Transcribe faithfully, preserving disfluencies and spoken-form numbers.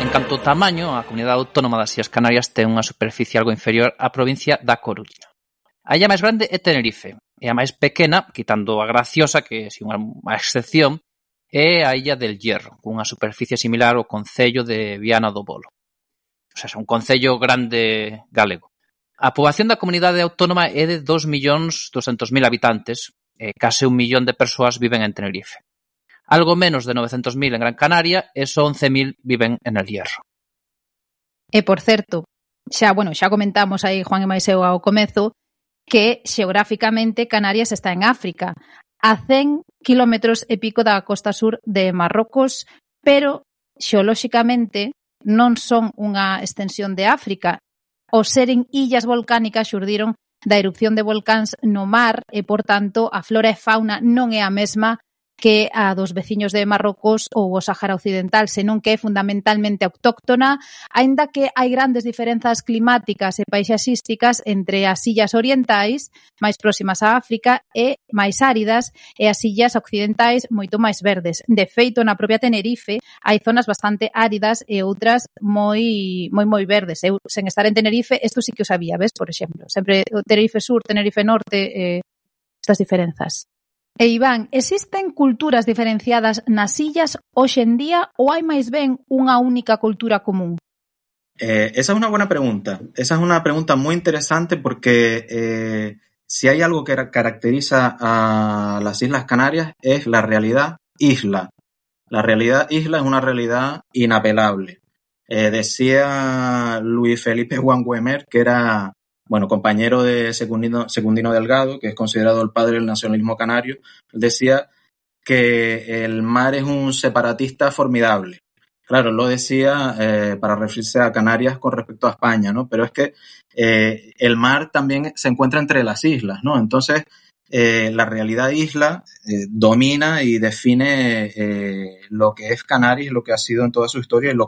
En canto ao tamaño, a Comunidade Autónoma das Illas Canarias ten unha superficie algo inferior á provincia da Coruña. A illa máis grande é Tenerife, e a máis pequena, quitando a Graciosa, que é unha, unha excepción, é a Illa del Hierro, cunha superficie similar ao concello de Viana do Bolo. O sea, é un concello grande galego. A poboación da comunidade autónoma é de dos millóns doscentos mil habitantes, e case un millón de persoas viven en Tenerife. Algo menos de novecentos mil en Gran Canaria e só once mil viven en El Hierro. E, por certo, xa, bueno, xa comentamos aí, Juan e Maiseu, ao comezo, que xeográficamente Canarias está en África, a cen kilómetros e pico da costa sur de Marrocos, pero xeolóxicamente non son unha extensión de África. Os seren illas volcánicas xurdiron da erupción de volcáns no mar e, por tanto, a flora e fauna non é a mesma que a dos veciños de Marrocos ou o Sáhara Occidental, senón que é fundamentalmente autóctona, aínda que hai grandes diferenzas climáticas e paisaxísticas entre as illas orientais, máis próximas a África, e máis áridas, e as illas occidentais moito máis verdes. De feito, na propia Tenerife hai zonas bastante áridas e outras moi moi moi verdes. Eu, sen estar en Tenerife, isto sí que o sabía, ves, por exemplo. Sempre Tenerife Sur, Tenerife Norte, eh, estas diferenzas. E Iván, existen culturas diferenciadas nas illas hoxe en día ou hai máis ben unha única cultura común? Eh, esa es una buena pregunta. Esa es una pregunta muy interesante porque eh, si hay algo que caracteriza a las Islas Canarias es la realidad isla. La realidad isla es una realidad inapelable. Eh, decía Luis Felipe Wanguemer, que era bueno, compañero de Secundino, Secundino Delgado, que es considerado el padre del nacionalismo canario, él decía que el mar es un separatista formidable. Claro, él lo decía eh, para referirse a Canarias con respecto a España, ¿no? Pero es que eh, el mar también se encuentra entre las islas, ¿no? Entonces, eh, la realidad isla eh, domina y define eh, lo que es Canarias, lo que ha sido en toda su historia y lo que